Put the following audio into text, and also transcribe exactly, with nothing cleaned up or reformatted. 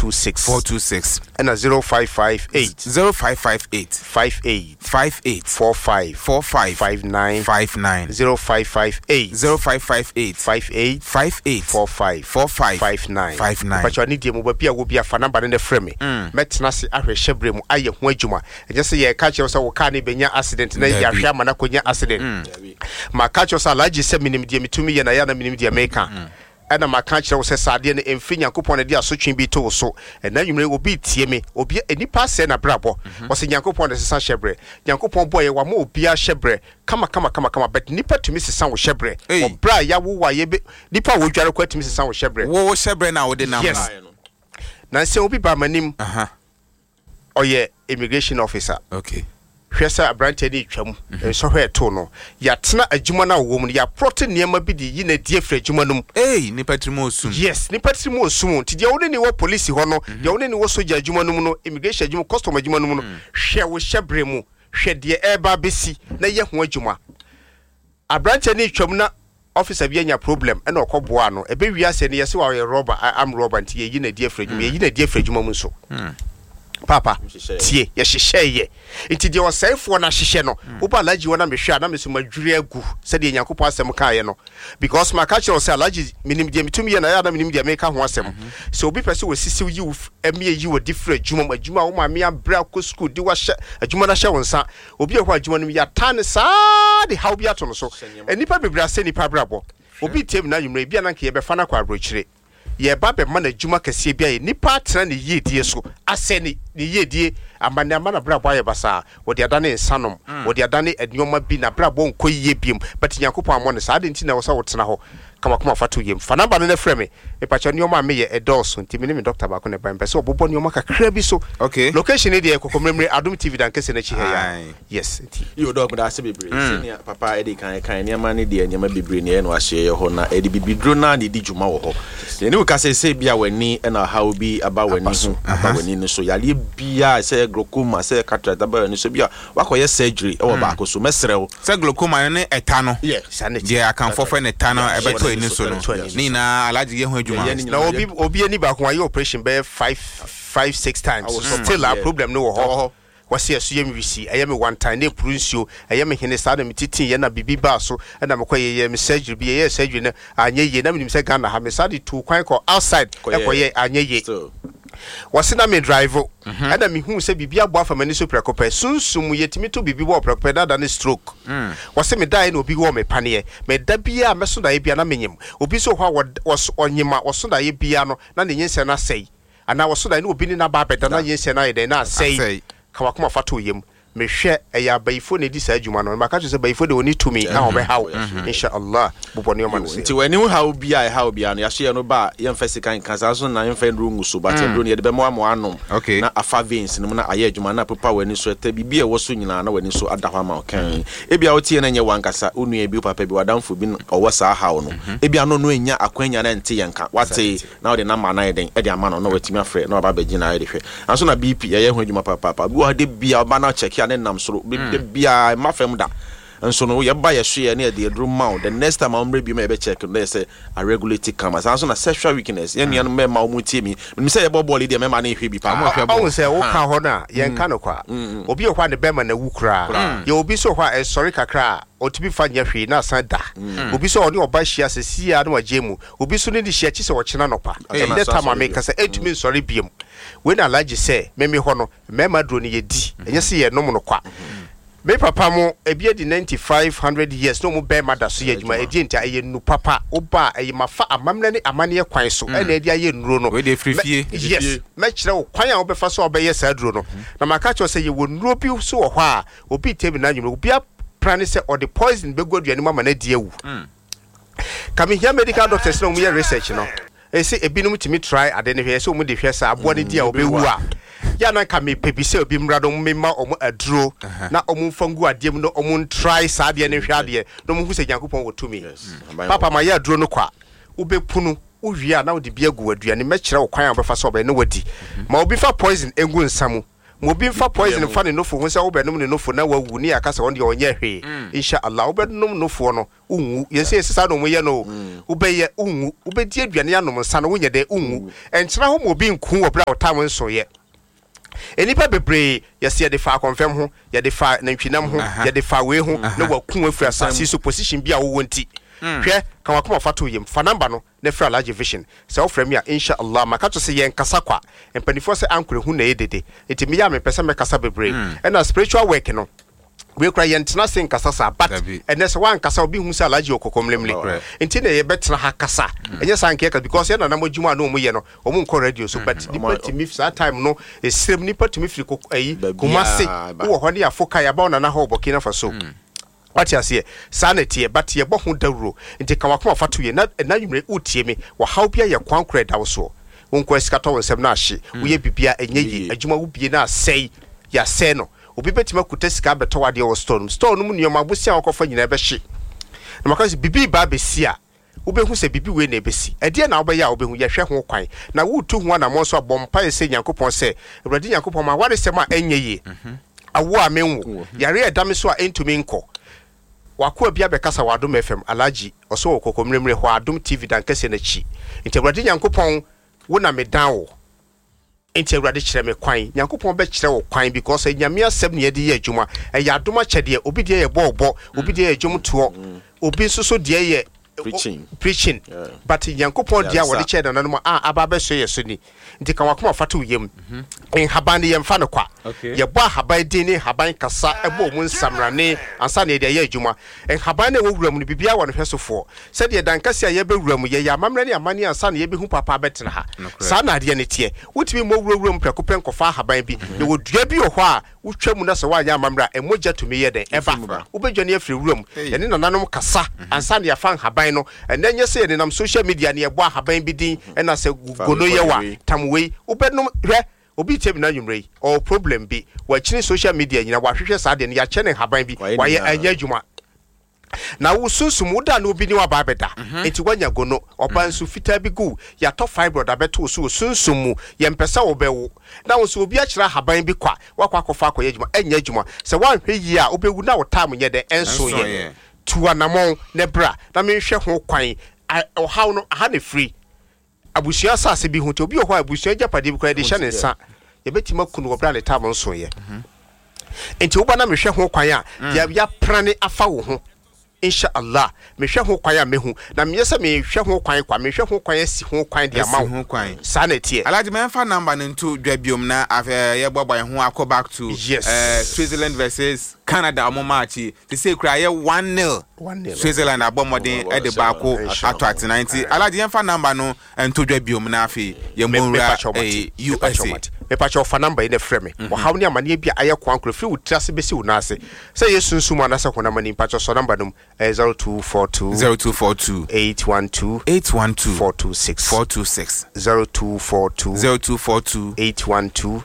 two six. Four two six. Ɛna zero five five eight. Zero five five eight. Five eight. Five eight. Four five. Four five. Five nine. Five nine. Zero five five eight. Zero five five eight. Five eight. Five eight. Four five. Four five. Five nine. Five nine. Mpatsɔ ne deɛ mu baabi a wo bi afa namba ne ne frɛ me. Mɛtena ase ahwɛ hyɛbrɛ mu ayɛ ho adwuma. Ɛnyɛ sɛ yɛka kyerɛ wo sɛ wo kaa ne bɛnya accident na Dabi. yɛahwɛ ama no akɔnya accident. Maka kyerɛ wo sɛ Alhaji sɛ menim deɛ metumi yɛ na yɛ na menim deɛ meka. Ɛna maka kyerɛ wo sɛ saa adeɛ no ɛmfiri Nyankopɔn na de asotwe bi to wo so. Ɛna nwumere obi tie me, obi nipa asɛe n'abrabɔ. Ɔsɛ Nyankopɔn na sesa hyɛbrɛ. Nyankopɔn bɔɔ yɛ wama obiara hyɛbrɛ kama kama kama kama, but nipa tumi sesa wo hyɛbrɛ. Ei. Ɔbrɛ a yɛawo wo a yɛbɛ nipa a wɔdware kɔ atumi sesa wo hyɛbrɛ. Wo wo hyɛbrɛ na wode nam. Yes. Na sɛ obi ba m'anim, Aha. ɔyɛ immigration officer. Okay. Hwɛ sɛ aberanteɛ no retwam, nsɔhwɛ ɛtoo no, yɛatena adwuma no a wɔwɔ mu no, yɛaprɔte nneɛma bi de yi na adi afiri adwuma no mu. Ei, nipa tiri mu osum. Yes, nipa tiri mu osum. Nti deɛ wone ne wɔ polisi hɔ no, deɛ wone ne wɔ sogya adwuma no mu no, immigration adwuma, custom adwuma no mu no, hwɛ wo hyɛbrɛ mu, hwɛ deɛ ɛreba abɛsi na yɛ ho adwuma. Aberanteɛ no retwam na officer bi anya problem ɛna ɔkɔ boa no. Ɛbɛ wiase no yɛsɛ wɔyɛ robber, armed robber, nti yɛyi na adi afiri adwuma, yɛyi na adi afiri adwuma mu nso. Papa tie, yɛhyehyɛ yɛ nti deɛ ɔsɛefoɔ no ahyehyɛ no, woba Alhaji hɔ na mehwɛ a na meso madwiri agu sɛdeɛ Nyankopɔn asɛm kaeɛ no, because maka kyerɛ wo sɛ Alhaji menim deɛ metumi yɛ na yɛ a na menim deɛ meka ho asɛm. Sɛ obi pɛ sɛ wɔsisiw yi wo ɛmi yi wɔ di firi adwuma mu, adwuma a wo maame abrɛ akɔ sukuu de wahyɛ adwuma no ahyɛ wo nsa, obi a ɛhɔ adwuma no mu yɛata ne saa de haw bi ato no so. Nnipa bebree asɛ nnipa abrabɔ. Obi tie mu na anwummerɛ bi a na nka yɛbɛfa no akɔ aborɔkyire, yɛba bɛma no adwuma kɛseɛ bi ayɛ, nipa atena ne yiedie so asɛ ne ne yiedie ama ne ama n'abrabɔ ayɛ basaa. Wɔde adane nsanom, wɔde adane nneɛma bi, n'abrabɔ nkɔ yie biem, but Nyankopɔn ammɔ no saa ade. Nti na ɛwɔ sɛ wotena hɔ kamakama fa to yam. Fa namba no ne frɛ me. Mepakyɛ, nneɛma a meyɛ ɛdɔɔso, nti me ne me dɔkta baako na ɛba. Mpɛ sɛ ɔbobɔ nneɛma kakra bi so. Okay. Location ne deɛ, Kɔkɔmmerɛmmerɛ Adom T V dankɛsɛ n'akyi ha Aye. ya. Yes, nti Yo, Doc, meda ase bebree. Sɛnea papa ɛde kan kan nneɛma ne deɛ, nneɛma bebree ne ɛyɛ no ahyɛ yɛ hɔ na ɛde bibiduro naa na ɛdi dwuma wɔ hɔ. Yɛne wo ka sɛ sɛ bi a w'ani ɛna ɔhaw bi aba w'ani ho, aba w'ani no so, yareɛ biaa, sɛ glaucoma, sɛ cataract aba w'ani so, bi a wakɔyɛ surgery ɛwɔ baako so, mɛsrɛ wo. Sɛ glaucoma no ne ɛta no. Yeah. Saa ne Deɛ akamfo frɛ ne ta no ɛbɛtɔ ani so no. Ɛbɛtɔ ani so. Ne nyinaa Alhaji yɛ ho adwuma. Yɛyɛ ne na obi obi ani baako ayɛ operation bɛyɛ five five six times, Awɔ so still a yeah. problem no wɔ Ɛwɔ hɔ. hɔ. Wɔsi ɛso yɛ mi wisi, ɛyɛ mi one time ne epuru nsuo, ɛyɛ mi hene saa na mi titi yɛ na bibi baa so ɛna mi kɔ yɛ yɛ mi surgery bi, yɛ yɛ surgery no anyɛ yie, na mi nim sɛ Ghana ha mi saa de tu kwan kɔ outside. Kɔyɛ. Ɛkɔ yɛ anyɛ yie. Still. Wɔsi na mi drive ɛna mi hu sɛ biribi abɔ afa m'ani so prɛko pɛ. Sunsum yɛtumi to biribi wɔ prɛko pɛ dada ne stroke. Wɔsi mi da yɛ na obi wɔ mi paneɛ mɛ da bia mɛso daeɛ bia na mi nyim. Obi nso wɔ hɔ a wɔd- wɔso ɔnyim a wɔso daeɛ bia no na ne nyinsɛn no asɛe, anaa wɔso daeɛ na obi ne n'aba abɛda na nyinsɛn no ayɛ dɛn na asɛe. Asɛe. Kamakoma fa to yam. Mehwɛ ɛyɛ abayifo na edi saa adwuma no. Maka kyerɛ sɛ bayifo de oni tumi a ɔbɛhaw. Insha Allah, bobɔ nneɛma no Nti sɛ w'ani ho haw bi a ɛhaw bi a no, yɛaso yɛ no ba a, yɛmfa sika nka saa so na yɛmfa nduro ngu so, but nduro no yɛde bɛma ama anom Okay. na afa veins no mu na ayɛ adwuma na apepa w'ani so ɛtɛ biribi a ɛwɔ so nyinaa na w'ani so ada hɔ ama wo kan. Ebia wotie no nyɛ wankasa wo nua bi, wo papa bi, w'adamfo bi ɔwɔ saa haw no, ebia no no ɛnya akwanya na ɛnte yɛn ka wate na wode namba no ayɛ den ɛde ama no na watumi afrɛ na waba abɛgye na ayɛ de hwɛ anso. Na B P yɛyɛ ho adwuma papaapa. Bi wɔ ha de bia ɔba na kyɛke a ne nam soro de bia ɛma fam da nso no, yɛba yɛ so yɛ ne yɛde aduro ma wo. The next time a wɔmmerɛ bi ma yɛbɛcheck no na yɛ sɛ a regulate kama. Saa nso na sexual weakness, yɛn nuanom mmarima a wɔn tie mi, menim sɛ yɛbɔ bɔɔl yi deɛ, mmarima no nhwɛ bi paa. Ɔmo hwɛ ɔhu sɛ woka hɔ no a yɛnka no kwa. Obi wɔ hɔ a ne bɛrima na wu koraa. Yɛ obi so wɔ hɔ a ɛsɔre kakra a ɔtumi fa nyɛ hwee na asan da. Obi so a ɔne ɔba hyia sɛ sia na wagye mu. Obi so ne ne hyia kyi sɛ ɔkyena nɔpa, ɛnɛ tam a meka sɛ ɛntumi nsɔre biom. Wei na Alhaji sɛ meme hɔ no, mmarima duro no yɛdi, ɛnyɛ sɛ yɛnom no kwa. Me papa mo ebi adi ninety five hundred years na ɔmo bɛrima da so yɛ adwuma. Ɛdi nti a ɛyɛ nu papa. Woba a ɛyɛ mafa amammerɛ ne amanneɛ kwan so ɛna ɛde ayɛ nnuro no. Wei deɛ firi Mɛ- fie. Yes, mɛkyerɛ wo kwan a wobɛfa so a wobɛyɛ saa duro no. Na maka kyerɛ wo sɛ yɛwɔ nnuro bi so wɔ hɔ a obi tɛmi na anwummerɛ obi apra ne sɛ ɔde poison bɛgu aduane mu ama no adi awu. Ka mehia medical doctors na ɔmo yɛ research no, ɛsɛ ebinom tumi try ade no hwɛ sɛ ɔmo de hwɛ sɛ aboa no di a ɔbɛwu a yɛ na nka mepɛ bi sɛ obi mmra no mema ɔmo aduro na ɔmo mfa ngu adeɛ mu na ɔmo ntry saa adeɛ no nhwɛ adeɛ na ɔmo hu sɛ Nyankopɔn wɔ tumi. Papa, ma yɛ aduro no kwa, wobɛpunu wowie a na wode bi agu aduane. Mɛkyerɛ wo kwan a wobɛfa so ɔbɛyɛ na wadi. Ma obi fa poison egu nsa mu. Mo obi mfa poison fa ne nofo ho sɛ wobɛnom ne nofo na wawu ne yɛaka sɛ ɔno deɛ ɔnyɛ hwee. Insha Allah, wobɛnom nofoɔ no, wonwu. Yɛn sɛ yɛsɛ saa na ɔmo yɛ no o. Wobɛyɛ, wonwu. Wobɛdi aduane, anom nsa no, wonyɛ dɛ, wonwu. Ɛnkyerɛ hɔ ma obi nku wɔ berɛ a ɔtam nsoyɛ. Nnipa bebree yɛsɛ yɛde fa akɔnfɛm ho, yɛde fa nantwinam ho, yɛde fa wei ho na waku afiri asase so. Position bi a wowɔ nti, hwɛ, ka wakoma fa to yam, fa number no na frɛ Alhaji Vision. Sɛ wofrɛ me a, insha Allah, maka to sɛ yɛnkasa kwa. Mpanimfoɔ sɛ ankorɛ hu na ɛyɛ dede, nti meyɛ a mepɛ sɛ mɛkasa bebree. Ɛna spiritual work no wei kora yɛntena se nkasa saa, but Dabi. ɛnɛ sɛ woankasa, obi hu sɛ Alhaji wɔ kɔkɔmlemle, nti na yɛbɛtena ha kasa. Ɛnyɛ saa nkɛka, because yɛ nanam adwuma a na ɔmu yɛ no, ɔmu nkɔ radio so, but nipa tumi saa time no ɛsirem, nipa tumi firi kok- ayi Baabiaa Kumase ba. wowɔ hɔ ne yɛafo ka yɛaba wo nana hɔ wɔ Burkina Faso. Wate aseɛ? Saa na ɛteɛ, but yɛbɔ ho dawuro. Nti ka wakoma fa to yɛ na ɛna nwumere wotie me, wɔhaw bi ayɛ kwan korɔ ɛda wo soɔ, wonkɔ sika tɔ wo nsɛm no ahye, woyɛ bibia ɛnyɛ yie, Yie. Adwuma wobie no asɛe, yɛasɛe no. Obi bɛtumi akuta sika abɛtɔ wadeɛ wɔ store no mu, store no mu nneɔma abosia a wɔkɔfa nyinaa bɛhye. Na maka sɛ biribi ba abɛsi a, wobɛhu sɛ biribi wei na ɛbɛsi. Ɛdeɛ na wobɛyɛ a wobɛhu, yɛhwɛ ho kwan na wotu ho anammɔ nso abɔ mpaeɛ sɛ Nyankopɔn sɛ, Awurade Nyankopɔn, ma awaresɛm a ɛnyɛ yie, awo a menwo, yare a ɛda me so a ɛntumi nkɔ. Wakoa bi abɛkasa wɔ Adom F M. Alhaji ɔsɛ wɔ kɔkɔmmerɛmmerɛ hɔ, Adom T V dankɛseɛ n'akyi. Nti Awurade Nyankopɔn, wo na medan wo, nti Awurade kyerɛ me kwan. Nyankopɔn bɛkyerɛ wo kwan, because Nyame asɛm ne yɛde yɛ adwuma. Ɛyɛ adom akyɛdeɛ. Obi deɛ yɛ bɔɔbɔ, obi deɛ yɛ dwomtoɔ, obi nso so deɛ yɛ preaching. Preaching. Yeah. But Nyankopɔn deɛ a wɔde Yaresa. kyɛɛ nananom a aba abɛsɔ yɛ so ni. Nti ka wakoma fa to wo yam. Nhaban no, yɛmfa no kwa. Okay. Yɛbɔ ahaban din ne nhaban kasa, ɛbɔ mu nsamrane ansa na yɛde ayɛ adwuma. Nhaban no a ɛwɔ wura mu no, biribiara wɔ no hwɛ sofoɔ sɛdeɛ dankasi a yɛbɛwura mu, yɛyɛ amammerɛ ne amanneɛ ansa na yɛbɛhu papa abɛtena ha. Nokorɛ. Saa na adeɛ no teɛ. Wotumi mmɔ wurawura mu prɛko pɛ nkɔfa ahaban bi. Yɛwɔ dua bi wɔ hɔ a wotwa mu na sɛ woanyɛ amammerɛ a, ɛmogya tumi yɛ dɛn ɛba, wobɛdwane afiri wura mu. Hey. Yɛne nananom kasa ansa na yɛafa nhaban no. Ɛnɛ nyɛ sɛ yɛnenam social media ne yɛbɔ ahaban bi din ɛna sɛ Fa gono wei yɛ kɔ wa wei. Tam wei wobɛnom. Hwɛ, obi tie mi na anwummerɛ yi ɔwɔ problem bi, wakyini social media nyina, wahwehwɛ saa deɛ no, yɛakyɛ ne nhaban bi, Wayɛ wayɛ, nyinaa. ɛnyɛ adwuma. Na wo sunsum woda na obi ne waba abɛda, enti woanya gono, ɔba nso fitaa bi gu, yɛatɔ fibroid abɛto wo so wɔ sunsum mu, yɛmpɛ sɛ wobɛwo. Na wo nso obi akyerɛ ahaban bi kwa, woakɔ akɔfa akɔyɛ adwuma, ɛnyɛ adwuma. Sɛ woanhwɛ yie a, wobɛwu na wo time nyɛ dɛ ɛnso Ɛnso yɛ. yɛ. Tu anammɔn ne bra na menhwɛ ho kwan. A- ɔhaw no aha ne firi abusua asase bi ho. Nti obi wɔ hɔ a abusua agyapadeɛ bi koraa yɛde hyɛ ne nsa, yɛbɛtumi aku no wɔ berɛ a ne tam nsoeɛ. Nti woba na mehwɛ ho kwan a deɛ yɛaprane afa wo ho, insha Allah, mehwɛ ho kwan a mehu na meyɛ sɛ mehwɛ ho kwan kwa, mehwɛ ho kwan asi ho kwan de ama Asi wo. Ho kwan. Saa na ɛteɛ. Alhaji, mɛmfa number no nto dwa biom na afei yɛboaboa yɛn ho akɔ back to Yes. uh, Switzerland versus Canada ɔmo match yi. Te sɛ kura yɛ one nil. One nil. Switzerland abɔ mmɔden Ɔmo ɛde bɔ baako hyɛ ato atena. Nti Alhaji, yɛmfa number no nto dwa biom na afei yɛmmɔ nwura eh, U S A. Mepakyɛ, ɔfa number yi na frɛ me. Ɔhaw ne amanneɛ bi a ayɛ kwan koro firi wo tiri ase bɛsi wo nan ase, sɛ yɛ sunsum anaasɛ honam ani, mpakyɛ sɔ number no mu, ɛyɛ zero two four two zero two four two eight one two eight one two four two six. four two six. zero two four two zero two four two eight one two